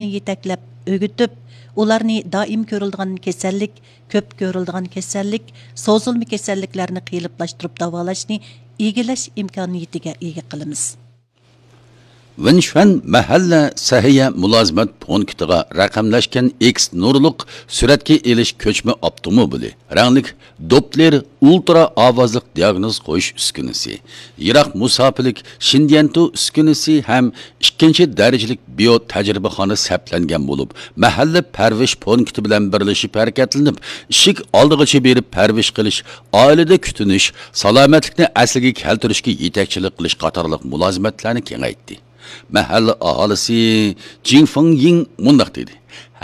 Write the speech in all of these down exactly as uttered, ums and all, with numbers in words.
يېتەكلەپ ئۆگىتىپ، ئۇلارنى دائىم كۆرۈلىدىغان كېسەللىك، كۆپ كۆرۈلىدىغان كېسەللىك، سوزۇلما كېسەللىكلەرنى قېلىپلاشتۇرۇپ داۋالاشنى ئىگىلەش ئىمكانىيىتىگە ئىگە قىلىمىز. ۋېنشۈەن مەھەللە سەھىيە مۇلازىمەت پونكىتىغا رەقەملەشكەن ئېكس نۇرلۇق سۈرەتكە ئېلىش كۆچمە ئاپتوموبىلى، رەڭلىك دوپلېر ئۇلترا ئاۋازلىق دىئاگنوز قويۇش ئۈسكۈنىسى، يىراق مۇساپىلىك شىنديەنتۇ ئۈسكۈنىسى ھەم ئىككىنچى دەرىجىلىك بىيو تەجرىبىخانا سەپلەنگەن بولۇپ، مەھەللە پەرۋىش پونكىتى بىلەن بىرلىشىپ ھەرىكەتلىنىپ، ئىشىك ئالدىغىچە بېرىپ پەرۋىش قىلىش، ئائىلىدە كۈتۈنۈش، سالامەتلىكنى ئەسلىگە كەلتۈرۈشكە يېتەكچىلىك قىلىش قاتارلىق مۇلازىمەتلەرنى كېڭەيتتى. مەھەللە ئاھالىسى جىڭ فېڭيىڭ مۇنداق دېدى: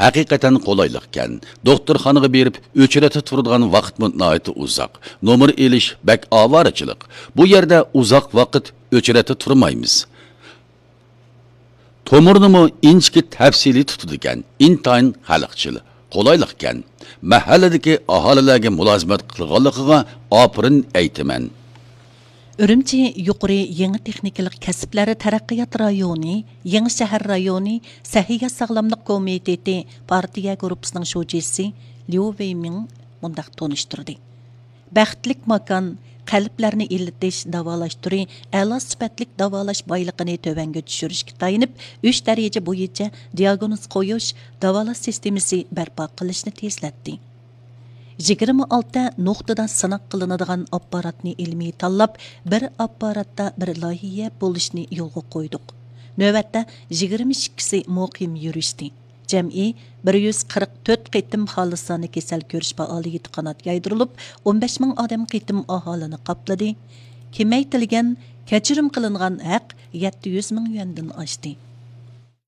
«ھەقىقەتەن قولايلىقكەن. دوختۇرخانىغا بېرىپ ئۆچرەتتە تۇرىدىغان ۋاقىتمۇ ناھايىتى ئۇزاق. نومۇر ئېلىش بەك ئاۋارىچىلىق. بۇ يەردە ئۇزاق ۋاقىت ئۆچرەتتە تۇرمايمىز. تومۇرنىمۇ ئىنچىكە تەپسىلىي تۇتىدىكەن، ئىنتايىن خەلقچىل، قولايلىقكەن. مەھەللىدىكى ئاھالىلەرگە مۇلازىمەت قىلغانلىقىغا ئاپىرىن ئېيتىمەن.» ئۈرۈمچى يۇقىرى يېڭى تېخنىكىلىق كەسىپلەر تەرەققىيات رايونى، يېڭى شەھەر رايونى سەھىيە ساغلاملىق كومىتېتى پارتىيە گۇرۇپپىسىنىڭ شۇجىسى ليۇ ۋېيمىڭ مۇنداق تونۇشتۇردى: بەختلىك ماكان، قەلبلەرنى ئىللىتىش داۋالاش تۈرى ئەلا سۈپەتلىك داۋالاش بايلىقىنى تۆۋەنگە چۈشۈرۈشكە تايىنىپ، ئۈچ دەرىجە بويىچە دىئاگنوز قويۇش، داۋالاش سىستېمىسى بەرپا قىلىشنى تېزلەتتى. يىگىرمە ئالتە نۇقتىدا سىناق قىلىنىدىغان ئاپپاراتنى ئىلمىي تاللاپ، بىر ئاپپاراتتا بىر لايىھە بولۇشنى يولغا قويدۇق. نۆۋەتتە يىگىرمە ئىككىسى مۇقىم يۈرۈشتى. جەمئىي بىر يۈز قىرىق تۆت قېتىم خالىسانە كېسەل كۆرۈش پائالىيىتى قانات يايدۇرۇلۇپ، ئون بەش مىڭ ئادەم قېتىم ئاھالىنى قاپلىدى. كېمەيتىلگەن، كەچۈرۈم قىلىنغان ھەق يەتتە يۈز مىڭ يۈەندىن ئاشتى.